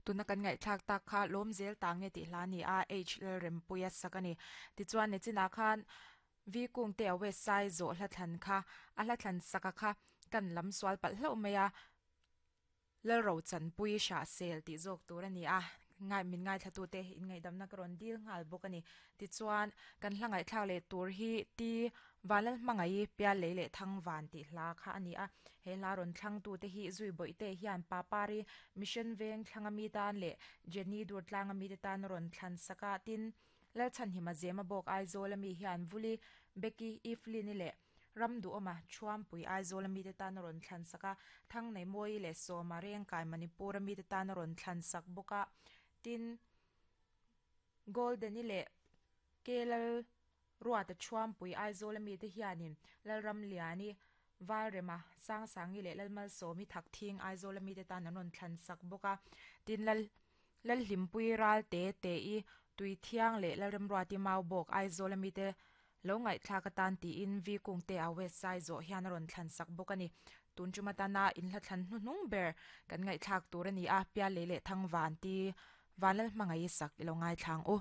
Tuna kan ngaihthlak tak kha lawm zel ta nge tih hla a ni a, H Lalrempuia sak a ni. Tichuan nichinah khan V Kungte a West Sai zawh hla thlan kha a hla thlan saka kha kan lam sual palh hlauh mai a, Lalrochanpui Hrahsel tih zawk tur a ni a, ngai min ngaithlatute inngaihdamna ka rawn dil nghal bawk a ni. Tichuan, kan hla ngaihthlak leh tur hi Ti Vanlalhmangaih Piallei leh Thangvan tih hla kha a ni a, he hla rawn thlangtute hi Zui Bawihte hian Papari Mission Veng thlanga mi tan leh Jenny Durtlanga mite tan a rawn thlan sak a, tin, Lalchhanhima Zema bawk Aizawl ami hian Vuli Becky Evelyn-i leh Ram duhawma Thuampui Aizawl a mite tan a rawn thlan sak a, Thangneihmawii leh Sawma Rengkai Manipur a mite tan a rawn thlan sak bawk a, tin, Golden-i leh Kelal Ruata Thuampui Aizawl a mite hianin Lalramliani, Valrema, Sangsangi leh Lalmalsawmi Thakthing Aizawl a mite tan an rawn thlan sak bawk a, tin, Lal Lalhlimpui Ralte Te-i Tuithiang leh Lalremruati Maubawk Aizawl a mite Lo ngaihthlak atan tiin Vi Kungte a West Sai zawh hian a rawn thlan sak bawk a ni. Tun tum atana inhla thlan hnuhnung ber kan ngaihthlak tur a ni a, Piallei leh Thangvan ti Vanlalhmangaih sak i lo ngaithla ang u.